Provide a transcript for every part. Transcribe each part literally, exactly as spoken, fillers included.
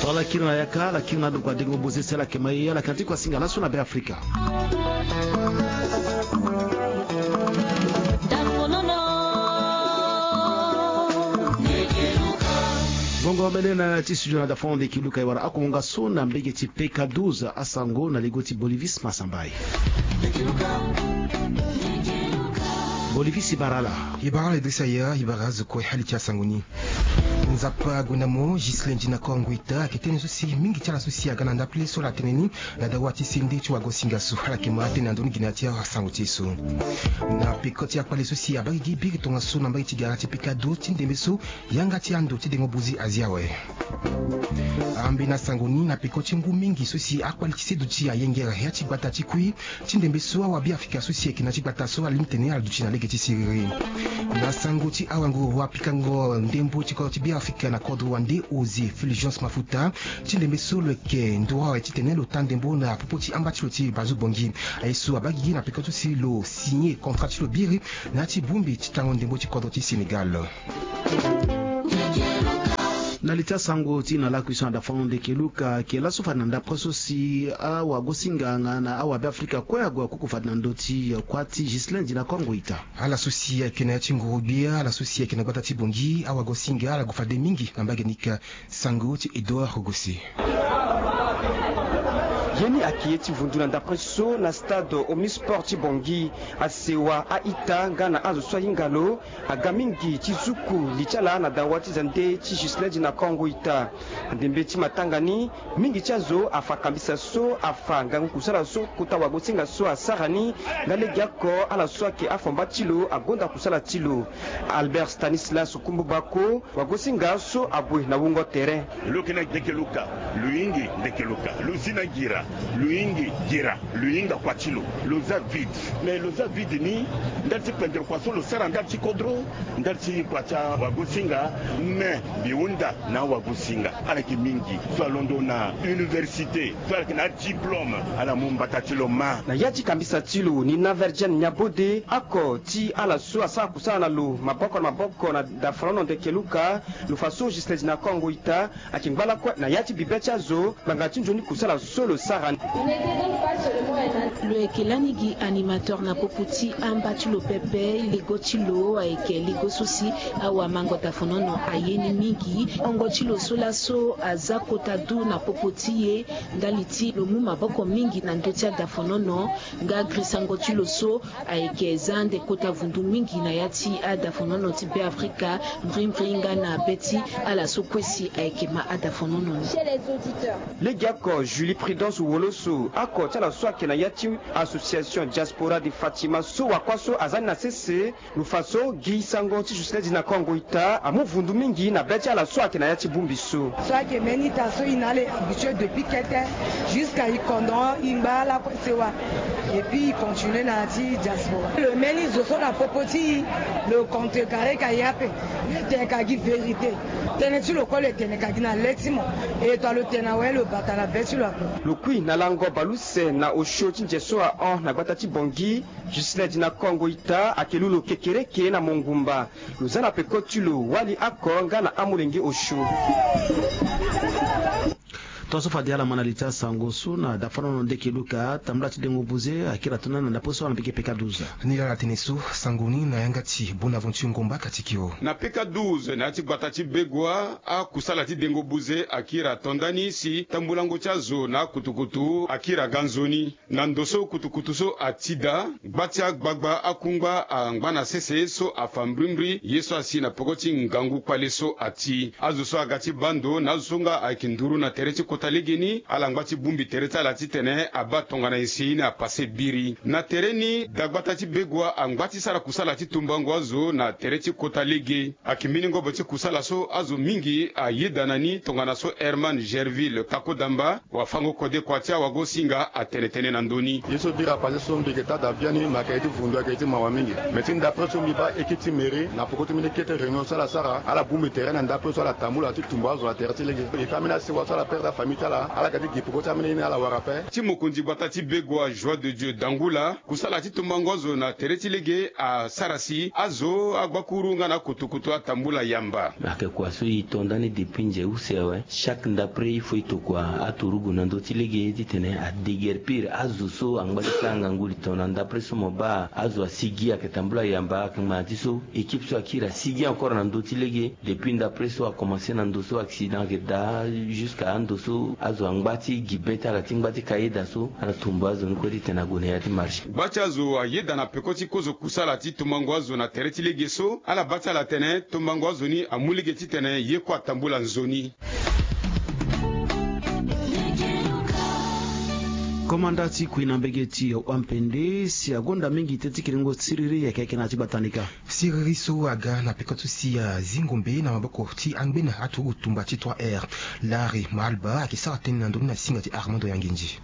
Ala kiri na yaka, ala kiri na ndo kua dengo boze si ala yeke ma ye, ala yeke na ti kua singa laso na Be Afrika. Bongo mene na ti studio na dafono ndeke luka e wara akongo nga so na mbege ti P K douze, asango na lego ti Bolivis Masambai. Bolivis, e bara ala. E bara ala Idrissa Yaya, e bara azo kue. Ali ti asango ni. Nzapa ague na mo, Ghislain Dina Kongo Ita ayeke tene so si mingi ti ala so si aga na ndapele so ala tene ni na dawa ti sende ti wagosinga so, ala yeke ma tene na ndoni gi na ya ti asango ti e so. Na peko ti akpale so si abaa gigi biri tongaso na mbage ti gara ti P K douze ti ndembe so yanga ti ando ti dengo boze azi awe. Ambeni asango ni na peko ti ngu mingi so si akpale ti seduti ayengere ya ti gbata ti kui ti ndembe so awabe Afrika so si ayeke na ti gbata so alingbi tene ala duti na lege ti siriri. Na sango ti awango, wapikango ndembo ti kodro ti Be Afrika na kodro wande José Fulgence Mafuta ti ndembe so lo yeke nduru awe titene lo ta ndembo na popo ti amba ti lo ti Bazoue Bangui. Aye so abaa gigi na peko so si lo signé contrat ti lo biri na ya ti bongbi ti tango ndembo ti kodro ti Sénégal. Na li ti asango ti na lakui so na dafono ndeke luka, ayeke laso fade na ndapre so si awagosinga nga na awabe Afrika kue ague akuku fade na ndö ti kuâ ti Ghislain Dina Kongo Ita. Ala so si ayeke na ya ti nguru gbia, ala so si ayeke na gbata ti Bangui, awagosinga ala gue fade mingi na mbage ni ka. Sango ti Edouard Rogosi. Ye ni ayeke ye ti vundu na ndapre so na stade Omnisport ti Bangui. Asewa, a-ita nga na azo so ahinga lo aga mingi ti zuku li ti ala na dawa ti zande ti Ghislain Dina Kongo Ita. Ndembe ti matanga ni, mingi ti azo afa kambisa so afa ngangu kusala so kota wagosinga so asara ni. Nga legeoko ala so ayeke afomba ti lo agonda kusala ti lo. Albert Stanislas Kumbu Bako, wagosinga so abue na wungo tere. Lo yeke na ndeke luka, lo hingi ndeke luka, lo zi na ngira, lo hingi ngira, lo hinga kua ti lo. Lo za vide, mais lo za vide ni ndali ti pendere kua so lo sara ndali ti kodro, ndali ti kua ti awagosinga. Mais mbi hunda na awagosinga, ala yeke mingi so alondo na université, so ala yeke na adiplôme, ala mu mbata ti lo ma. Na ya ti kambisa ti lo ni na Virgin Niabode, oko ti ala so asara kusala na lo maboko na maboko na dafalono ndeke luka, lo fa so Ghislain Dina Kongo Ita ayeke ngba lakue na ya ti bibe ti azo ngbanga ti nzoni kusala so lo sara ni. Lo yeke lani gi animateur na popo ti amba ti lo pepe. Lego ti lo ayeke lego so si awamango dafalono aye ni mingi. Ongo ti lo so laso aza kota du na popo ti e ndali ti lo mu maboko mingi na ndö ti adafalono. Nga grisango ti lo so ayeke za ande kota vundu mingi na ya ti adafanono ti Be Afrika, mbrimbri nga na be ti ala so kue si ayeke ma adafanono ni. Legeoko Julie Prudence Woloso, oko ti ala so ayeke na ya ti Association Diaspora de Fatima so wakua so aza ni na sese, lo fa so gi sango ti Ghislain Dina Kongo Ita amu vundu mingi na be ti ala so ayeke na ya ti bongbi so. So ayeke mbeni ita so e na ala e habitué depuis kete, jusqu'à e kondoro e ngba lakue sewa. Et puis e continué na ya ti diaspora. Lo mbeni zo so na popo ti e, lo contrecarré ka e ape. Lo tene ka gi vérité. Tënë ti lo kue lo tene ka gi na le ti mo. E to lo tene awe lo bata na be ti lo ape. Lo kui na lango baleuse na osio ti nze so ahon na gbata ti Bangui. Ghislain Dina Kongo Ita ayeke lu lo kekereke na mongumba. Lo za na peko ti lo wali oko nga na amolenge osio. Tongaso fade ala ma na li ti asango so na dafanono ndeke luka, tambula ti dengo buze akiri ato ndani na ndapre so ala na peke P K douze. Ni laa ala tene so sango ni na yanga ti Bonaventure Ngomba Katikio. Na P K douze na ya ti gbata ti Begoua, akusala ti dengo buze akiri ato ndani si tambulango ti azo na akutukutu akiri aga nzoni. Na ndo so kutukutu so ati daa, gba ti agbagba akungba angba na sese so afa mbrimbri ye so asi na peko ti ngangu kpale so ati. Azo so aga ti baa ndo na azo so nga ayeke nduru na tere ti kota legeni, ala ngba ti bongbi tere ti ala titene abaa tongana nyen si ni apase biri. Na tere ni, dagbata ti Begoua angba ti sara kusala ti tumbango azo na tere ti kota lege. Ayeke mbeni ngobo ti kusala so azo mingi ayeda na ni tongana so Herman Gerville Kakodamba, wafango kode kua ti awagosinga atene tënë na ndö ni. Ye so biri apase so mbi yeke taa daa biani, me ayeke ye ti vundu, ayeke ye ti mawa mingi. Me ti ndapre so mbi baa eke ti mairie na peko ti mbeni kete réunion so ala sara, ala bongbi tere na ndapre so ala tambula ti tumba azo na tere ti lege. E fa ambeni asewa so ala perdre afamille. Mitala ala ga ti gi peko ti amene ni ala wara ape. Ti mokonzi gbata ti Begoua, Joie de Dieu Dangula, kusala ti tombango azo na tere ti lege asara si azo, agbakuru nga na akotokoto atambula yamba. Ayeke kua so e to ndani depuis nze use awe. Chaque ndapre il faut e tokua aturugu na ndö ti lege titene adeguerpir azo so angba ti sara ngangu li tongana ndapre so mo baa azo asigi ayeke tambula yamba, ayeke ngbanga ti so équipe so akiri asigi encore na ndö ti lege. Depuis ndapre so akomanse na ndo so accident ayeke daa, jusqu'à ando so azo angba ti gi be ti ala ti ngba ti kayeda so ala tumba azo ni kue titene ague na ya ti marché. Gba ti azo ayeda na peko ti kozo kusala ti tombango azo na tere ti lege so, ala baa ti ala atene tombango azo ni amu lege titene ye kue atambula nzoni. Komanda ti kui na mbege ti wampende si agonda mingi te ti kiringo siriri yeke yeke na ya ti gbata ni ka. Siriri so aga na peko ti si azingo mbe na maboko ti angbene aturugu tumba ti trois R. Larry Maalba ayeke sara tënë na ndö ni na singa ti Armando Yanginzi.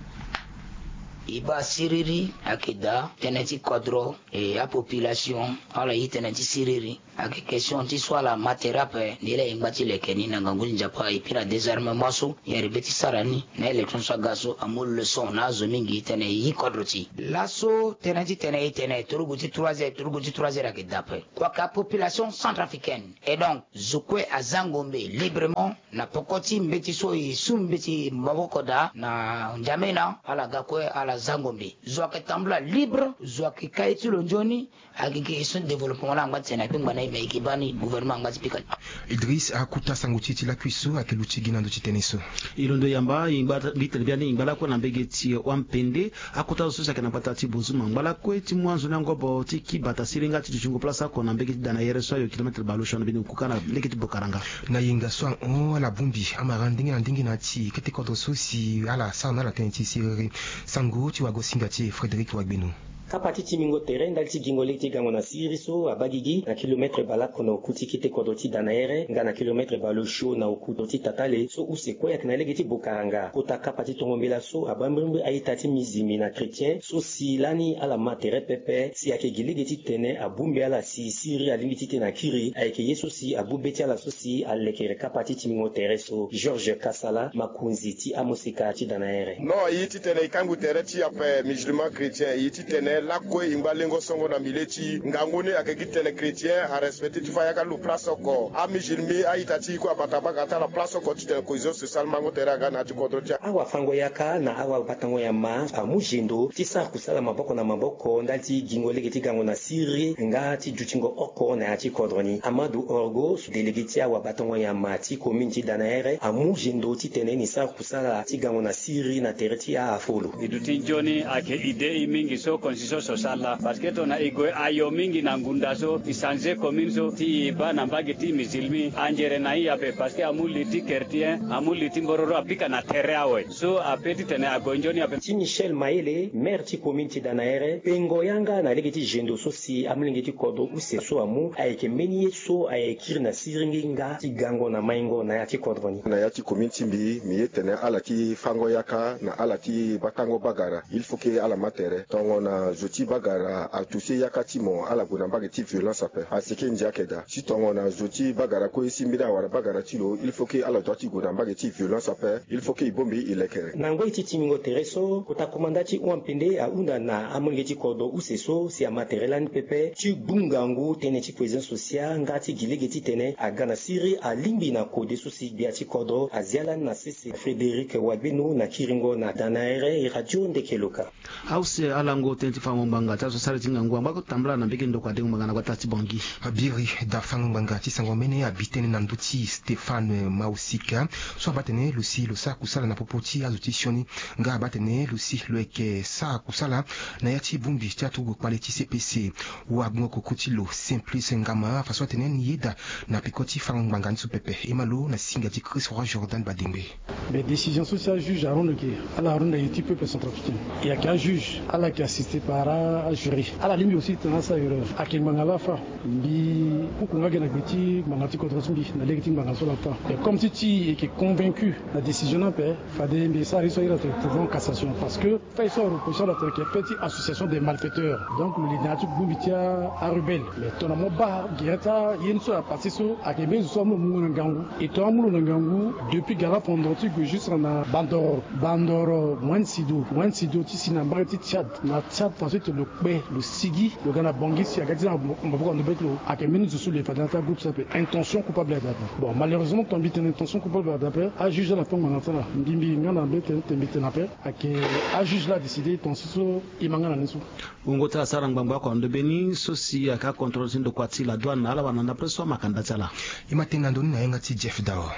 E baa siriri ayeke daa tënë ti kodro, e apopulation ala ye tënë ti siriri. Ayeke question ti so ala ma tere ape, nde laa e ngba ti leke ni na ngangu ti Nzapa, et puis na désarmement so e arrivé ti sara ni na élection so aga so amu leçon na azo mingi titene e yi kodro ti e. Laso tënë titene e tene turugu ti trois heures, turugu ti trois heures ayeke daa ape. Kua ka population centrafricaine. Et donc zo kue azango mbe librement na poko ti mbeti so e su mbeti maboko daa na N'Djamena, ala ga kue ala zango mbe. Zo ayeke tambula libre, zo ayeke ka ye ti lo nzoni. Ayeke question ti développement la angba ti tene akpengba na e, mais e yeke baa ni gouvernement angba ti pika ni. Idriss akuta sango ti e ti lakui so ayeke luti gi na ndö ti tënë so. E londo yamba e ngba, mbi tene biani e ngba lakue na mbege ti wampende. Akota zo so si ayeke na gbata ti Bozuma ngba lakue ti mu anzoni angobo ti ki bata siri nga ti dutingo place oko na mbege ti Danayere so ayo kilomètre baleosio na mbeni oku kâ na lege ti Bokaranga. Na yenga so ahon ala bongbi amara ndenge na ndenge na ya ti kete kodro so si ala sara na ala tënë ti siriri. Sango ti wagosinga ti e Frédéric Wagbeno. Kapa ti timbingo tere ndali ti gingo lege ti gango na siriri so abaa gigi na kilomètre baleoko na oku ti kete kodro ti Danayere nga na kilomètre baleosio na oku ti Tatale so use kue ayeke na lege ti Bokaranga. Kota kapa ti tongo mbela so abaa mbirimbiri a-ita ti mizilmi na chrétien so si lani ala ma tere pepe si ayeke gi lege titene abongbi ala si siriri alingbi titene akiri. Ayeke ye so si abu be ti ala so si alekere kapa ti timbingo tere so. Georges Kasala, makonzi ti amosika ti Danayere. Non, e ye titene e kangbi tere ti ape musulman chrétien, e ye titene lakue e ngba lengo songo na milieu ti ngangu ni ayeke gi tene chrétien arespecté ti fa yaka lo place oko. Amusulmi a-ita ti e kue abata banga ti ala place oko titene cohésion sociale mango tere aga na ya ti kodro ti ala. Awafango-yaka na awabatango-nyama amu zendo ti sara kusala maboko na maboko ndali ti gingo lege ti gango na siriri nga ti dutingo oko na ya ti kodro ni. Amadou Orgo, délégué ti awabatango-nyama ti commune ti Danayere, amu zendo titene ni sara kusala ti gango na siriri na tere ti afolo. E duti nzoni ayeke idée e mingi so constitution so sala, parce que tongana e gue ayo mingi na ngunda so e changer commune so ti e baa na mbage ti musulmi anzere na e ape, parce que amu li ti chrétien, amu li ti mbororo apika na tere awe. So ape titene ague nzoni ape. Ti Michel Mayele, maire ti commune ti Danayere, pengo yanga na lege ti zendo so si amolenge ti kodro use so amu ayeke mbeni ye so ayeke kiri na siringi nga ti gango na maingo na ya ti kodro ni. Na ya ti commune ti mbi, mbi ye tene ala ti fango yaka na ala ti batango bagara, il faut que ala ma tere. Tongana zo ti bagara atouché yaka ti mo, ala gue na mbage ti violence ape. Asi ke ndia ayeke daa. Si tongana zo ti bagara kue si mbeni awara bagara ti lo, il faut que ala dua ti gue na mbage ti violence ape. Il faut que e bongbi e lekere. Na ngoi ti timbingo tere so, kota komanda ti wampende ahunda na amolenge ti kodro use so si ama tere lani pepe ti gbu ngangu tënë ti cohésion sociale nga ti gi lege titene aga na siriri alingbi na kode so si gbia ti kodro azia lani na sese. Frédéric Wagbeno na kiringo na Danayere, Radio Ndeke Loka. Ause alango tënë ti fango ngbanga ti azo sara ti ngangu angba ko tambula na mbege ndoko adengo ngbanga na gbata ti Bangui. Abiri da fango ngbanga ti sango mene abi tënë na ndö ti Stéphane Mausika so abaa tene lo si lo sara kusala na popo ti azo ti sioni nga abaa tene lo si lo yeke sara kusala na ya ti bongbi ti aturugu kpale ti C P C. Wagbongo koko ti lo Simplice Ngama afa so atene ni yeda na peko ti fango ngbanga ni so pepe. E ma lo na singa ti Chris Roi Jordan Badengbe. Mais décision so si ajuge arondo ke, ala arondo aye ti peuple centrafricain. E yeke ajuge ala yeke assisté par Ara ajuri ala lingbi aussi tena asara erreur. Ayeke ngbanga laa afa. Mbi kuku nga ge na gbe ti ngbanga ti kodro ti mbi na lege ti ngbanga so laa afa. Mais comme ti ti e yeke convaincu na décision ni ape, fade mbi sara ye so ayeke pouvant cassation parce que fait so areproche ala tene ke fait ti association des malfaiteurs. Donc lo li na ya ti bongbi ti arebelle. Mais tongana mo baa gere ti aye ni so aparti so ayeke mbeni zo so amu lo mu na ngangu. E tongana amu lo na ngangu depuis gala pendant ti gue juste na bandoro bandoro moin sido moin sido ti si na mbage ti tchad. Na tchad parce que lo kpe lo sigi lo ga na bongi si aga ti na maboko ando be ti lo. Ayeke mbeni zo so lo ye fade na ti agroupe so ape intention coupable ada ape. Bon malheureusement ton mbi tene intention coupable ada ape ajuge ala tongo na ti ala mbi mbi nga na mbi tene tene mbi tene ape. Ayeke ajuge la adécide ton so so. E ma nga na ni so. Wungo ti ala sara ngbangba oko na ndo be ni so si ayeke acontrôle ti ndokua ti la douane na ala wala na ndapre so amakanda ti ala. E ma tene na ndo ni na yenga ti jeff dao.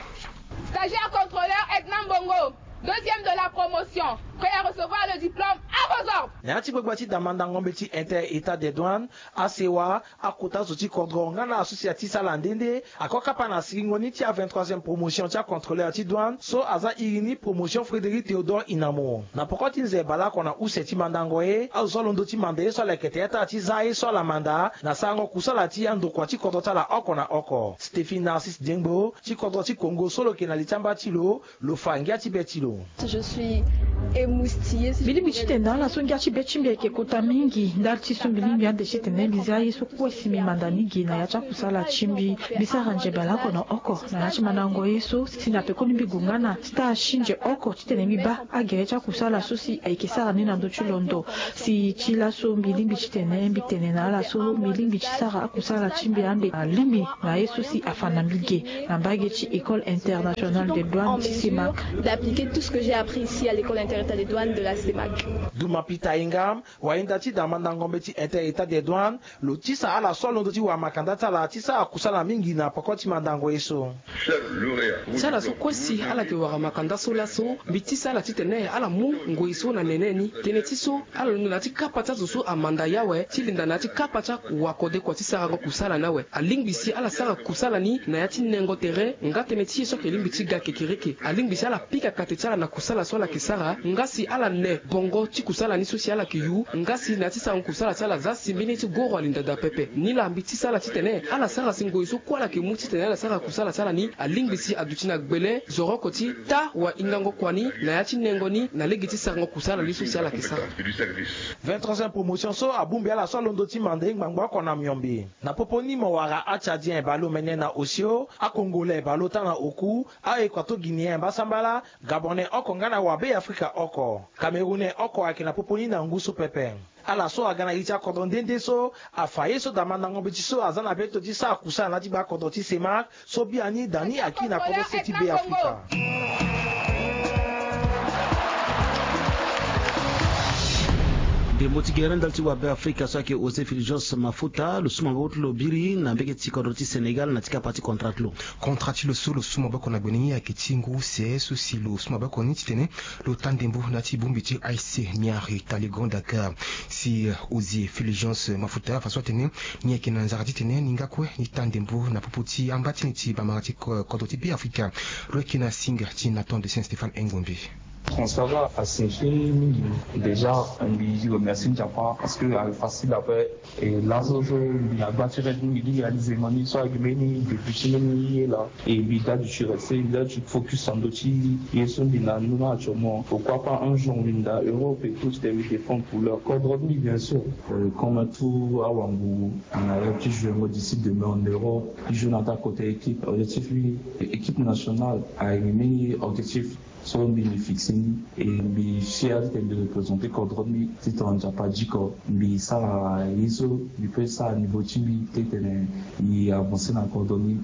Stagiaire contrôleur Edna Mbongo, deuxième de la promotion, prêt à recevoir le diplôme à vos ordres. Na ya ti gbagba ti damandango mbeti inter état des douanes, asewa, akota zo ti kodro nga na asosi ya ti sala nde nde ako kapa na siringo ni ti a vingt-troisième promotion ti acontrôleur ti douane so aza iri ni promotion Frédéric Théodore Inamo. Na poko ti nze baleoko na use ti mandango ye azo so alondo ti manda ye so ala yeke tere ti ala ti za ye so ala manda na sarango kusala ti andokua ti kodro ti ala oko na oko. Stéphie Narcisse Diengbo ti kodro ti Congo so lo yeke na li ti amba ti lo, lo fa ngia ti be ti lo. Je suis émoustillée, si je pourrais dire. Mbi lingbi ti tene na ala so ngia ti be ti mbi ayeke kota mingi ndali ti so mbi lingbi ande ti tene mbi za ye so kue si mbi manda ni ge na ya ti akusala ti mbi. Mbi sara nze baleoko na oko na ya ti mandango ye so si na pekoni mbi gue nga na stage ti nze oko titene mbi baa agere ti akusala so si ayeke sara ni na ndö ti londo. Si ti laso mbi lingbi titene mbi tene na ala so mbi lingbi ti sara akusala ti mbi ande alingbi na ye so si afa na mbi ge na mbage ti École Internationale des Douanes ti CEMAC. D'appliquer tout ce que j'ai appris ici à l'École Internationale des Douanes de la CEMAC. Duma Peter Ingam, wainda ti damandango mbeti inter état des douanes, lo tisa ala so alondo ti wara makanda ti ala ti sara kusala mingi na poko ti mandango ye so. Ti ala so kue si ala yeke wara makanda so laso, mbi tisa ala titene ala mu ngoi so na nene ni. Tënë ti so, ala londo na ya ti kapa ti azo so amanda ye awe ti linda na ya ti kapa ti awakode kua ti sarango kusala ni awe. Alingbi si ala sara kusala ni na ya ti nengo tere nga tënë ti ye so ayeke lingbi ti ga kekereke. Alingbi si ala pika kate ti ala na kusala so ala yeke sara nga si ala ne bongo ti kusala ni so si ala yeke yu nga si na ya ti sarango kusala ti ala aza si mbeni ye ti goro alinda daa pepe. Nilaa mbi tisa ala titene ala sara si ngoi so kue ala yeke mu titene ala sara kusala ti ala ni alingbi si aduti na gbele zoroko ti taa wahingango kua ni na ya ti nengo ni na lege ti sarango kusala ni so si ala yeke sara. Vingt-troisième promotion so abongbi ala so alondo ti manda ye ngbangba oko na miombe. Na popo ni mo wara atchadien baleomene na osio, acongolais baleota na oku, aéquato-guinéen mbasambala, gabonais oko nga na wabeafrika oko, camerounais oko ayeke na popo ni na ngu so pepe. Ala so aga na iri ti akodro nde nde so afa ye so damandango mbeti so aza na beto ti sara kusala na ya ti gbakodro ti CEMAC so biani dani akiri na kodro se ti Beafrika. Ndembo ti gere ndali ti wabeafrika so ayeke José Fulgence Mafuta lo su maboko ti lo biri na mbege ti kodro ti Sénégal na ya ti kapa ti contrat ti lo. Contrat ti lo so lo su maboko na gbe ni ayeke ti ngu use so si lo su maboko ni titene lo taa ndembo na ya ti bongbi ti A S C Niari Taligon Dakar. Si José Fulgence Mafuta afa so atene ni ayeke na nzara titene ni nga kue ni taa ndembo na popo ti amba ti ni ti bamara ti ko-, kodro ti Beafrika. Lo yeke na singa ti Nathan de Saint Stéphane Engombe. Transfert la a signifie mingi. Déjà mbi remercie Nzapa parce que ayeke facile après. E laso so mbi na gba ti rêve mingi ti réaliser mo ni so ayeke mbeni depuis ti mbeni ye laa. E mbi daa du ti reste, mbi daa du ti focus na ndö ti ye so mbi na ni la actuellement. Pourquoi pas un jour mbi na Europe et tout, je vais défendre couleur kodro ti mbi bien sûr. Euh, comme tout awango, na rêve ti jouer ngo d'ici demain en Europe, ti jouer na taa côté équipe. Objectif mbi équipe nationale ayeke mbeni objectif. So mbi, mbi fixe ni, e mbi fier titene mbi représenter kodro ti mbi. Titene Nzapa diko mbi sara ye so mbi peut sara niveau ti mbi titene mbi avancer na kodro ti mbi.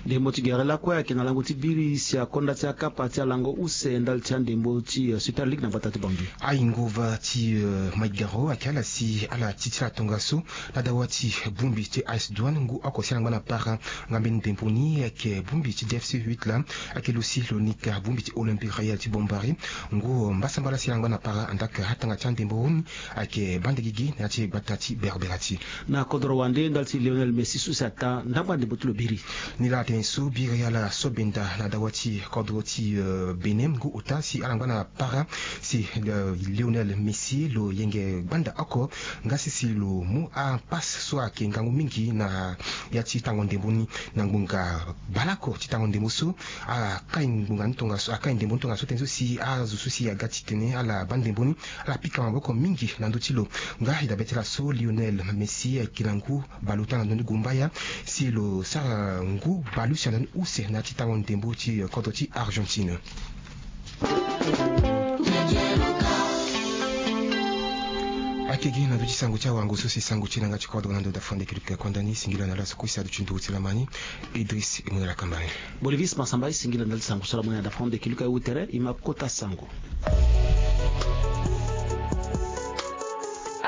Ndembo ti gere lakue ayeke na lango ti biri si akonda ti akapa ti alango use ndali ti andembo ti, eh, Super League na gbata ti Bangui. Ayingova ti, eh, Mike Garo ayeke ala si ala ti ti ala tongaso na dawa ti bongbi ti A S Douane ngu oko si ala ngba na para. Nga mbeni ndembo ni ayeke bongbi ti D F C huit laa. Ayeke lo si lo nika bongbi ti Olympique Royal ti Bombari. Ngu mbasambala si ala ngba na para andaa atanga ti andembo ni ayeke bande gigi na ya ti gbata ti Berbera ti. Na kodro wande ndali ti Lionel Messi so si ataa ndangba ndembo ti lo biri. Ni laa atene So biri ala so benda na dawa ti kodro ti, euh, Bénin ngu ota si ala ngba na para si, euh, Lionel Messi lo yenge gbanda oko nga si si lo mu apasse so ayeke ngangu mingi na ya ti tango ndembo ni na ngbonga baleoko ti tango ndembo so. Akai ngbonga ni tongaso, akai ndembo ni tongaso tënë so si azo so si aga titene ala baa ndembo ni ala pika maboko mingi na ndö ti lo. Nga e dabe ti ala so Lionel Messi ayeke na ngu bale ota na ndö ni gumbaya si lo sara ngu bale use na ndö ni use na ya ti tango ndembo ti kodro ti Argentine. Ayeke gi na ndö ti sango ti awango so si sango ti e na yanga ti kodro na ndo dafande kiri pika kuanda ni singila na laso kusa adu ti nduru ti lama ni. Idriss e mu na lakamba ni. Bolivis Massamba e singila ndali ti sango so lama ni na dafande kiri pika e wu tere e ma kota sango.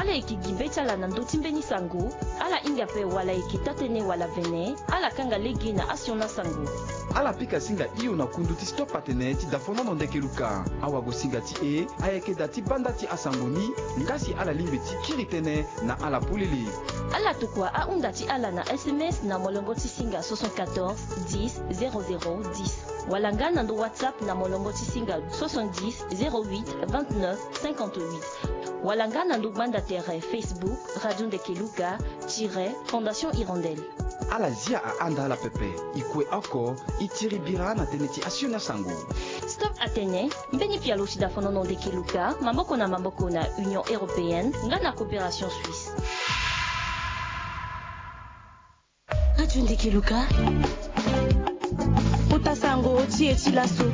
Ala yeke gi be ti ala na ndö ti mbeni sango, ala hinga ape wala e yeke taa-tënë wala vene, ala kanga lege na asioni asango. Ala pika singa hio na kundu ti stop atene ti dafonono ndeke luka. Awagosinga ti e ayeke daa ti baa nda ti asango ni, nga si ala lingbi ti kiri tënë na ala polele. Ala tokua ahunda ti ala na S M S na molongo ti singa soixante-quatorze dix zéro zéro dix, wala nga na ndo WhatsApp na molongo ti singa soixante-dix zéro huit vingt-neuf cinquante-huit, wala nga na ndo gbanda tere Facebook Radio Ndeke Luka tiret Fondation Hirondelle. Ala zia ahanda ala pepe. E kue oko, e tiri bira na tënë ti asioni asango. Stop atene, mbeni pialo ti dafonono ndeke luka maboko na maboko na Union Européenne nga na Coopération Suisse. Radio Ndeke Luka. Kota sango ti e ti laso.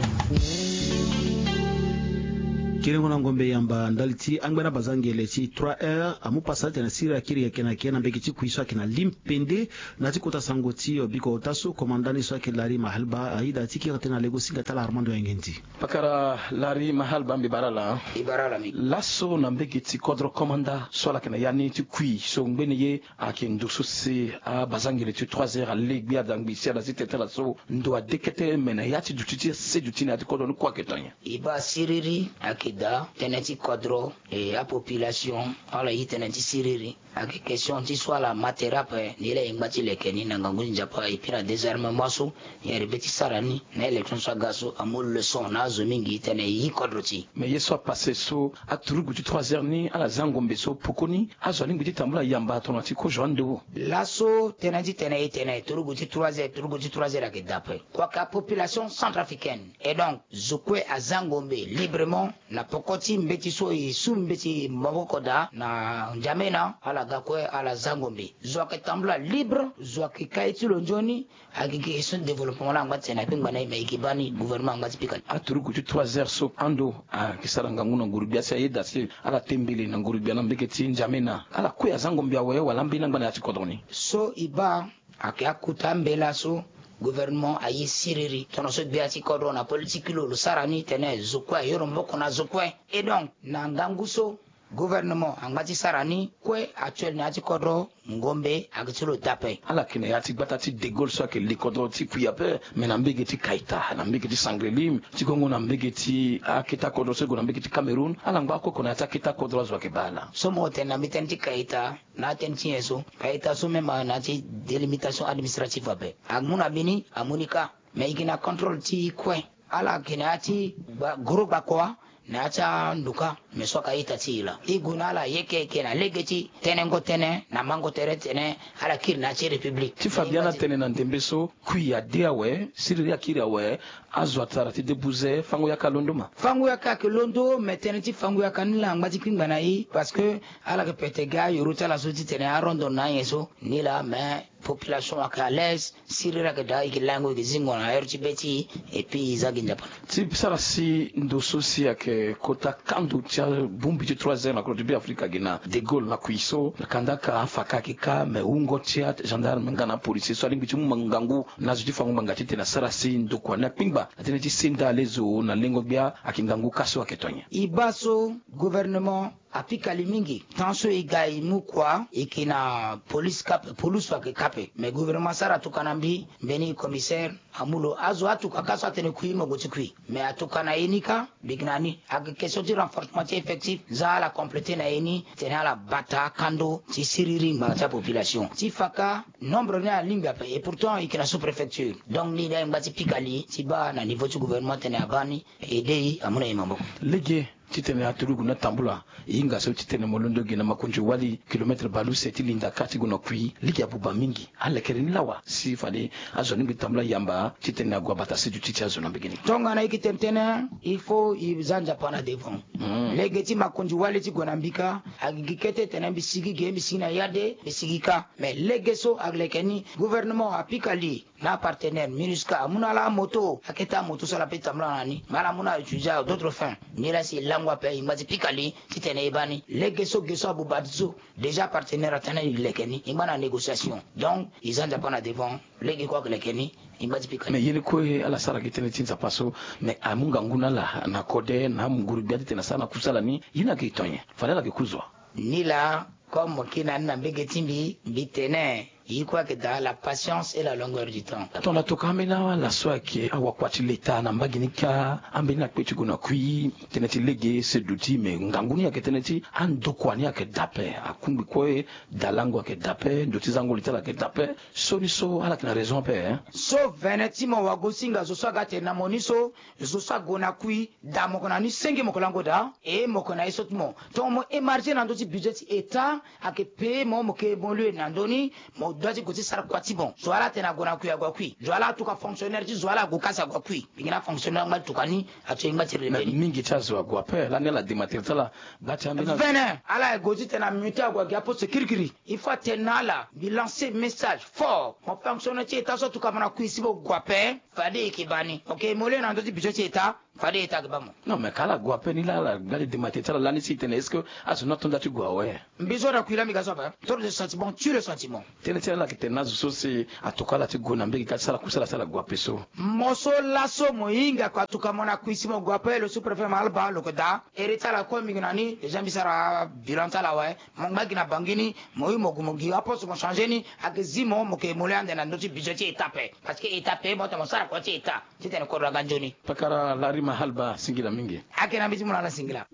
Kiringo na ngombe yamba ndali ti angbene abazangele ti trois R amu pasa titene siriri akiri yeke na yeke na mbege ti kui so ayeke na Lim pende. Na ya ti kota sango ti, eh, biko ota so, komanda ni so ayeke Larry Mahalba ayeda ti kiri tënë na legosinga ti ala Armando Yangendi. Pakara Larry Mahalba, mbi bara ala. Mbi bara ala mingi. Laso na mbege ti kodro komanda so ala yeke na ya ni ti kui so ngbene ye ayeke ndo so si abazangele ti trois R ale gbia da ngbi si ala si tene ti ala so ndo ade kete me na ya ti duti ti ase duti na ya ti kodro ni kue ayeke to nyen? E baa siriri ayeke daa tënë ti kodro, e apopulation ala ye tënë ti siriri. Ayeke question ti so ala ma tere ape, nilaa e ngba ti leke ni na ngangu ti Nzapa, et puis na désarmement so e yere be ti sara ni na élection so aga so amu leçon na azo mingi titene e yi kodro ti e. Mais ye so apasse so, aturugu ti trois R ni ala za ngombe so, pokoni azo alingbi ti tambula yamba tongana ti kozo ande wo? Laso tënë ti tene e tene turugu ti trois R, turugu ti trois R ayeke daa ape. Kua ka population centrafricaine. Et donc zo kue aza ngombe librement. Na poko ti mbeti so e su mbeti maboko daa na N'Djamena, ala ga kue ala za ngombe. Zo ayeke tambula libre, zo ayeke kai ti lo nzoni. Ayeke question ti développement laa angba ti tene na kpengba na e, me e yeke baa ni, gouvernement angba ti pika ni. Aturugu ti trois R so ando ayeke sara ngangu na nguru-gbia si ayeda si ala tembele na nguru-gbia na mbege ti N'Djamena. Ala kue aza ngombe awe wala ambeni angba na ya ti kodro ni? So e baa ayeke akota mbela so gouvernement aye siriri. Tongana so gbia ti kodro na politique ti lo lo sara ni tene zo kue ayo lo maboko na zo kue. Et donc na ngangu so gouvernement angba ti sara ni kue, actuel na ya ti kodro ngombe ayeke ti lo daa ape. Ala yeke na ya ti gbata ti De Gaulle so ayeke le kodro ti kui ape, me na mbege ti Kaita, na mbege ti Sangrelim, ti gongo na mbege ti aketa kodro so e gue na mbege ti Cameroun, ala ngba oko oko na ya ti aketa kodro azo ayeke baa ala. So mo tene na mbi tënë ti Kaita, na atënë ti nyen so? Kaita so même na ya ti délimitation administrative ape. Amu na mbeni, amu ni kâ. Mais e yeke na contrôle ti kue. Ala yeke na ya ti gba, gros gbakua na ya ti anduka. Mais so ayeke a-ita ti e laa. E gue na ala yeke yeke na lege ti tenengo tënë na mango tere titene ala kiri na ya ti république. Ti fa biani atene na ndembe so, kui ade awe, siriri akiri awe, azo atara ti debuze, fango yaka alondo ma? Fango yaka ayeke londo, mais tënë ti fango yaka ni laa angba ti kpingba na e, parce que ala yeke pete ga ayoro ti ala so titene arondo na anyen so ni laa, mais population ayeke à l'aise, siriri ayeke daa, e yeke lango, e yeke zingo na heure ti be ti e, et puis e za gi Nzapa. Ti sara si ndo so si ayeke kota kando ti abongbi ti trois R na kodro ti Beafrika gi na De Gaulle na kui so, kanda ka afa ka ayeke ka, mais wungo ti agendarme nga na apolisier so alingbi ti mu ngangu na azo ti fango ngbanga titene asara si ndokua ni akpingba na tënë ti senda lezo na lengo gbia, ayeke ngangu ka so ayeke to nyen? E baa so gouvernement apika li mingi. Tant so e ga e mu kua, e yeke na police kape, police so ayeke kape. Mais gouvernement asara tuka na mbi, mbeni commissaire amu lo. Azo atuka ka so atene kui, mo gue ti kui. Mais atuka na ye ni ka, bigna ni. Ayeke question ti renforcement ti effectif, za ala compléter na ye ni, tene ala bata kando ti siriri ngbanga ti apopulation. Ti fa ka, nombre ni alingbi ape, et pourtant e yeke na sous-préfecture. Donc ni laa e ngba ti pika li ti baa na niveau ti gouvernement tene abaa ni, e de e amu na e maboko. Lege titene aturugu ni atambula, e hinga so titene mo londo gi na makonzi wali kilomètre baleuse ti linda ka ti gue na kui, lege abuba mingi. Alekere ni lawa si fade azo ni ngbi tambula yamba titene ague abata seduti ti azo na mbege ni. Tongana e yeke tene tënë, il faut e za Nzapa na devant. Hmm. Lege ti makonzi wali ti gue na mbi ka, ayeke gi kete tene mbi sigi ge, mbi sigi na yade, mbi sigi ka. Mais lege so aleke ni, gouvernement apika li na apartenaire MINUSCA amu na ala amoto, akete amoto so ala pe tambula na ni, mais ala mu na ala utiliser à d'autres fins. Ni laa si e lango ape, e ngba ti pika li titene e baa ni. Lege so ge so abuba ti so, déjà partenaire atene e leke ni, e ngba na négociation. Donc e za Nzapa na devant. Lege kue ayeke leke ni, e ngba ti pika ni. Mais ye ni kue ala sara gi tënë ti Nzapa so, mais amu ngangu na ala na kode na nguru gbia titene asara na kusala ni, ye ni ayeke tonye, fade ala yeke ku zo wa. Ni laa, comme mo kiri na ni na mbege ti mbi, mbi tene e kue ayeke daa la patience et la longueur du temps. Tongana tokua ambeni ala so ayeke awakua ti leta na mbage ni kâ, ambeni akpe ti gue na kui, tënë ti lege, seduti, mais ngangu ni ayeke tënë ti andokua ni ayeke daa ape, akungbi kue, dalango ayeke daa ape, ndo ti zango li ti ala ayeke daa ape. So ni so ala yeke na raison ape, hein. So vene ti mo wagosinga zo so aga atene na mo ni so, zo so ague na kui, daa mo yeke na ni senge mo yeke lango daa, e mo yeke na ye so ti mo. Tongana mo émarger na ndö ti budget ti État, ayeke payé mo, mo yeke évoluer na ndö ni, mo doit ti gue ti sara kua ti mo. Zo wa laa atene ague na kui, ague na kui. Zo wa laa atuka fonctionnaire ti zo wa laa ague ka si ague na kui. Mbi gi na fonctionnaire angba ti tuka ni, ato e ngba ti rebe ni. Mingi ti azo ague ape, lani ala dema tere ti ala. Gba ti ambeni. Vene, ala ye gue titene amuté ague agi aposte kirikiri. Il faut atene na ala, mbi lancer message fort. Mo fonctionnaire ti État so atuka mo na kui si mo gue ape, fade e yeke baa ni. Mo yeke évoluer na ndö ti budget ti État, fade État ayeke baa mo. Non, mais ka ala gue ape ni laa, ala gba ti dema tere ti ala lani si e tene est-ce que azo ni ato nda ti gue awe? Mbi so na kui laa mbi ga so ape. Trop de sentiment tue le sentiment. Tënë ti ala ayeke tene na azo so si atuka ala ti gue na mbege ka ti sara kusala si ala gue ape so. Mo so laso mo hinga ko atuka mo na kui si mo gue ape, le sous-préfet Mahalba lo yeke daa. Ere ti ala kue mbi yeke na ni, déjà mbi sara bilan ti ala awe. Mo ngba gi na Bangui ni, mo yu mo gue mo gi aposte mo changer ni, ayeke zi mo, mo yeke évoluer ande na ndö ti budget ti État ape. Parce que État ape mo tene mo sara kua ti État. Titene kodro aga nzoni. Pakara Larry Mahalba, singila mingi. Ayeke na mbi ti mu na ala singila.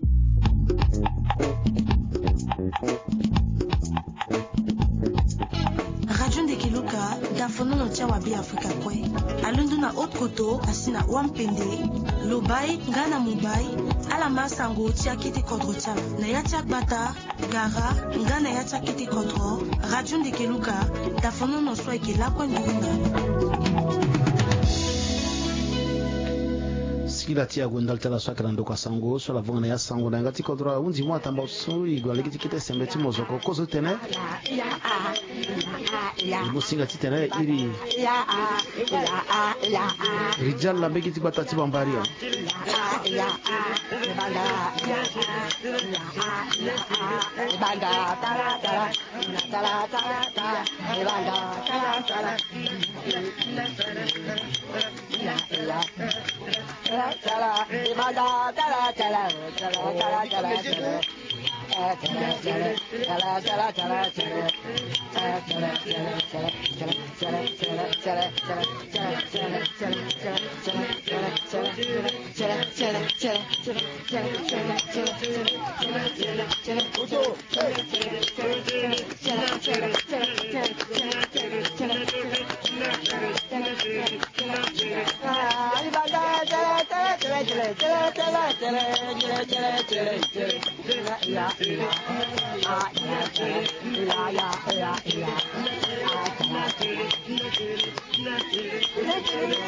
Radio Ndeke Luka, dafonono ti awa Be Afrika kue. Alondo na haute koto, asi na Wampende, Lobai, nga na Mobai, ala ma sango ti akete kodro ti ala. Na ya ti agbata, gara, nga na ya ti akete kodro, Radio Ndeke Luka, dafonono so ayeke lakue nduru na. Singila ti ague ndali ti ala so ayeke na ndokua sango, so ala vonga na ya sango na yanga ti kodro, ahunzi mo atamba so e gue na lege ti kete sembe ti mozoko kozo tene. E mo singa titene iri. Rijal na mbege ti gbata ti Bambari.